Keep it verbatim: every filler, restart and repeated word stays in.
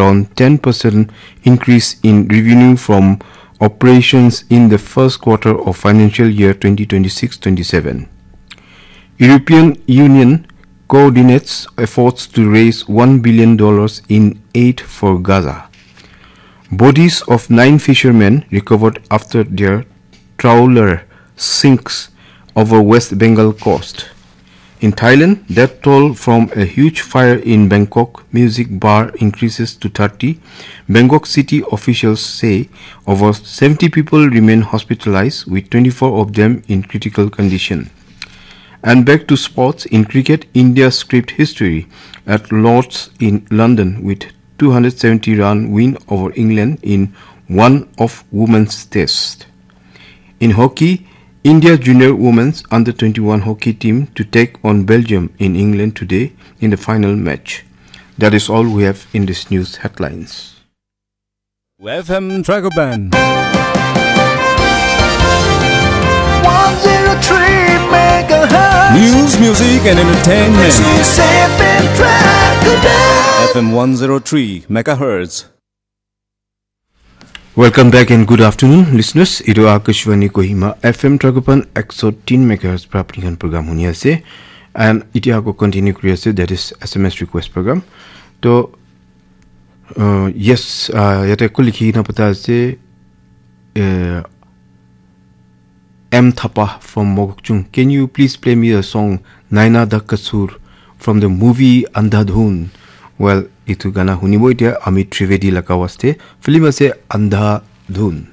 on ten percent increase in revenue from operations in the first quarter of financial year twenty twenty-six twenty-seven. European Union coordinates efforts to raise one billion dollars in aid for Gaza. Bodies of nine fishermen recovered after their trawler sinks over West Bengal coast. In Thailand, death toll from a huge fire in Bangkok music bar increases to thirty. Bangkok city officials say over seventy people remain hospitalized, with twenty-four of them in critical condition. And back to sports, in cricket, India script history at Lord's in London with two hundred seventy run win over England in one of women's test. In hockey, India junior women's under twenty-one hockey team to take on Belgium in England today in the final match. That is all we have in this news headlines. F M Dragoban. one zero three megahertz. News, music, and entertainment. This is F M Dragoban. F M one zero three megahertz. Welcome back and good afternoon, listeners. Itu Akashvani Kohima, F M Dragoban, ek so tin megahertz pra apni khan program huni ase. And iti ako continue kuri ase, that is S M S request program. To, uh, yes, uh, yate ko likhi na pata ase, uh, M Thapa from Mokokchung. Can you please play me a song, Naina Da Kasur, from the movie Andhadhun? Well, itu gana hunibo itia Amit Trivedi laga waste. Film ase Andhadhun.